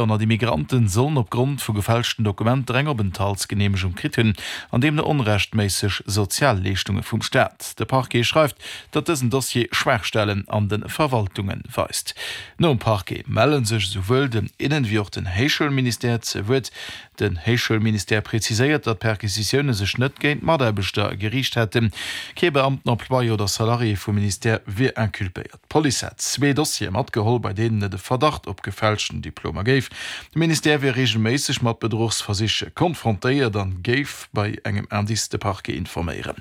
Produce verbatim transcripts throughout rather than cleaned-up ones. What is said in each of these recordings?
Honnert Immigranten sollen opgrond vu gefälschten Dokumenter eng Openthaltsgeneemegung kritt hunn an deemno onrechtméisseg Sozialleeschtunge vum Staat. De Parquet schreift, datt dësen Dossier Schwaachstellen an de Verwaltunge weist. Nom Parquet melle sech esouwuel den Innen wéi och den Héichschoulministère ze Wuert. Den Héichschoulministère präziséiert, datt d'Perquisitioune sech net géint Mataarbechter geriicht hätten. Kee Beamten, Employé oder Salarié vum Ministère wier inculpéiert. D'Police hätt zwee Dossiere matgeholl, bei deenen et e Verdacht op gefälschten Diplomer géif. De Ministère wier reegelméisseg mat Bedruchsversich konfrontéiert an géif bei engem Indice de Parquet informéieren.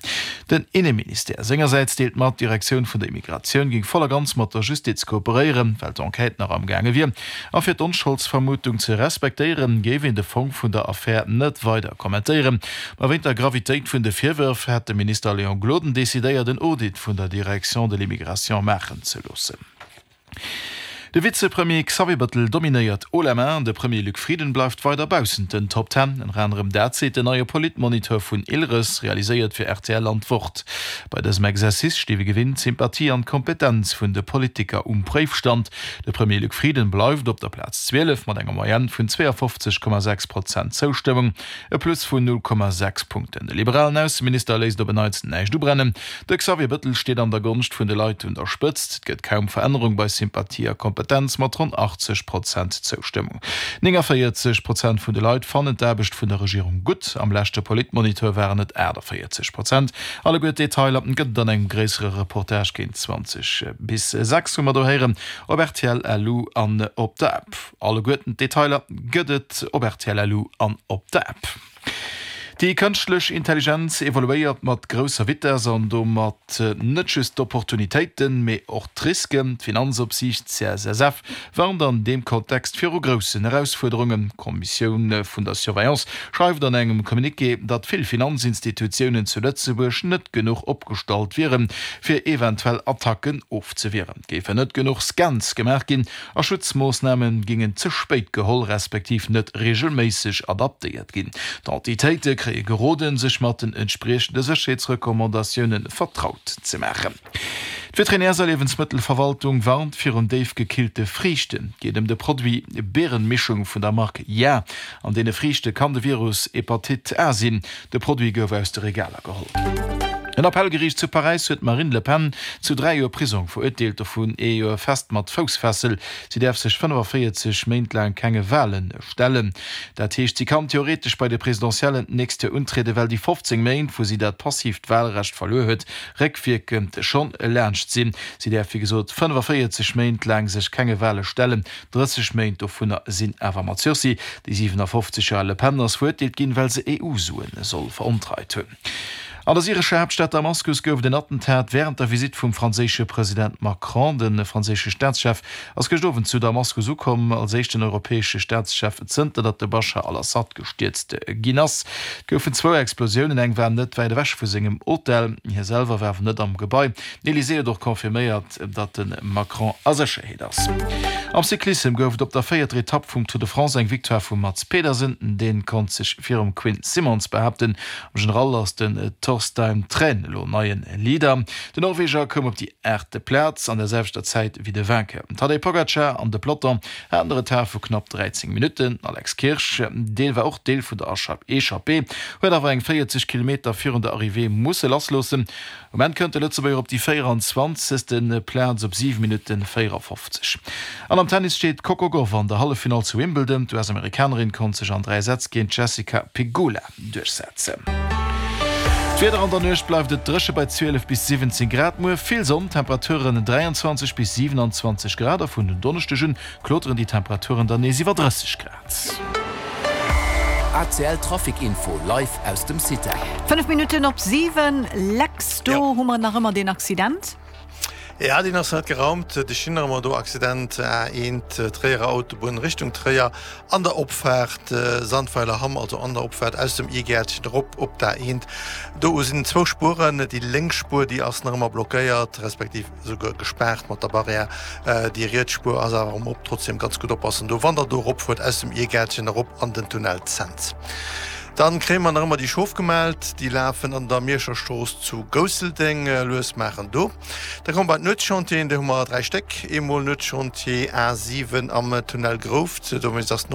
Den Inneministère sengersäits deelt mat, d'Direktioun vun der Immigratioun géing voll a ganz mat der Justiz kooperéieren, well d'Enquête nach am gaange wier. A fir d'Onscholdsvermutung ze respektéieren, géif een de Fong vun der Affär net weider kommentéieren. Ma wéint der Gravitéit vun de Virwërf hätt de Minister Léon Gloden decidéiert, en Audit vun der Direction de l'immigration maachen ze loossen. De Vizepremier Xavier Bettel dominéiert haut la main, de Premier Luc Frieden bleift weider baussent den Top Ten. Ënner anerem dat seet den neie Politmoniteur vun Ilres, realiséiert fir rtl an d'Wort. Bei dësem Exercice sti wéi gewinnt d'Sympathie an d'Kompetenz vun de Politiker um Préifstand. De Premier Luc Frieden bleift op der Plaz zwielef mat enger Moyenne vun zweeafofzeg Komma sechs Prozent Zoustëmmung, e Plus vun null Komma sechs Punkten. De liberalen Ausseminister léisst op en Neits näischt ubrennen. De Xavier Bettel steet an der Gonscht vun de Leit un der Spëtzt. Et gëtt kaum Verännerung bei Sympathie a Kompetenz mat ronn achtzeg Prozent Zoustëmmung. Néngavéierzeg Prozent vun de Leit fannen d'Aarbecht vun der Regierung gutt. Am leschte Politmoniteur waren et aachtavéierzeg Prozent. Alleguer d'Detailer gëtt et an engem gréissere Reportage géint zwanzeg bis sechs, wou mer do héieren op rtl L U an op der App. Alleguerten d'Detailer gëtt et op rtl L U an op der App. Déi kënschtlech Intelligenz evoluéiert mat grousser Vitess an domat net just d'Opportunitéiten, mee och d'Risken. D'Finanzopsiicht C S S F warnt an deem Kontext viru groussen Erausfuerderungen. D'Kommissioun vun der Surveillance schreift an engem Communiqué, datt vill Finanzinstitutiounen zu Lëtzebuerg net genuch opgestallt wieren, fir eventuell Attacken ofzewieren. Et géifen net genuch Scans gemaach ginn a Schutzmoossname gingen ze spéit geholl, respektiv net reegelméisseg adaptéiert ginn. D'Entitéite kréie geroden, sech mat den entspriechende Sécherheetsrecommandatioune vertraut ze maachen. D'Veterinärs a Liewensmëttelverwaltung warnt virun déifgekillte Friichten. Et geet ëm de Produit Beerenmischung vun der Mark Ja. An deene Friichte kann de Virus Hepatite A sinn. De Produit gouf aus de Regaler geholl. En Appellgeriicht zu Paräis huet d'Marine Le Pen zu dräi Joer Prisong verurteelt, dovun ee Joer fest mat Foussfessel. Si däerf sech fënnefaféierzeg Méint laang kenge Wale stellen. Dat heescht, si kann theoretesch bei de Presidentiellen d'nächst Joer untrieden, well déi fofzéng Méint, wou si dat passiivt Walrecht verluer huet, réckwierkend schonn laanscht sinn. Si däerf wéi gesot fënnefaféierzeg Méint laang sech kenge Wale stellen, drësseg Méint dovunner sinn awer mat Sursis. Déi siwenafofzeg Joer al Le Pen ass verurteelt ginn, well se E U-Sue soll verontreit hunn. An der syrescher Haaptstad Damaskus gouf et en Attentat wärend der Visitt vum franséische President Macron. De franséische Staatschef ass gëscht Owend zu Damaskus ukomm, als éischten europäesche Staatschef zënter datt de Baschar al-Assad gestierzt ginn ass. Et goufen zwou Explosiounen, eng war net wäit ewech vu sengem Hotel. Hie selwer war awer net am Gebai. Den Elysée huet och confirméiert, datt de Macron a Sécherheet ass. Am Cyclissem gouf et op der véierter Etapp vum Tour de France eng Victoire vum Mads Pedersen. Dee konnt sech virum Quinn Simmons behaapten. Am General ass den Torstein Træen elo neien Leader. Den Norweger koum op déi aachte Plaz an der selwechter Zäit wéi de Vainqueur. Den Tadej Pogacar an de Peloton haten e Retard vu knapp dräizéng Minutten. Den Alex Kirsch, dee war och Deel vun der Echappée, huet awer eng véierzeg Kilometer virun der Arrivée musse lassloossen. Um Enn kënnt de Lëtzebuerger op déi véieranzwanzegste Plaz op siwe Minutten véierafofzeg. An am Tennis steet d'Coco Gauff an der Halleffinall zu Wimbledon. D'U S-Amerikanerin konnt sech an dräi Sätz géint d'Jessica Pegula duerchsetzen. D'Wieder, An der Nuecht bleift et dréche bei zwielef bis siwwenzéng Grad. Muer vill Sonn, Temperaturen dräianzwanzeg bis siwenanzwanzeg Grad a vun den Donneschdeg un kloteren déi Temperaturen dann nees iwwer drësseg Grad. A C L Trafic Info live aus dem CITEL. Fënnef Minutten op siwen, Lex, do hu mer nach ëmmer deen Accident. Ja, deen ass net geraumt. De Schinnermer do Accident A eent Tréierer Autobunn Richtung Tréier an der Opfaart Sandweiler Hamm, also an der Opfaart aus dem Irgäertchen erop op d'A eent. Do sinn zwou Spueren, déi lénks Spuer déi ass nach ëmmer blockéiert, respektiv esouguer gespaart mat der Barrière. Déi riets Spuer ass awer erëm op. Trotzdem ganz gutt oppassen do, wann der do eropfuert aus dem Irgäertchen erop an den Tunnel Cents. Dann kréie mer nach ëmmer déi Schof gemellt, déi lafen an der Mierscher Strooss zu Gousseldeng, lues maachen do. Da komme mer bei d'Nuetschantieren, do hu mer dräi Stéck, eemol Nuetschantier A siwen am Tunnel Grouft, dowéinst ass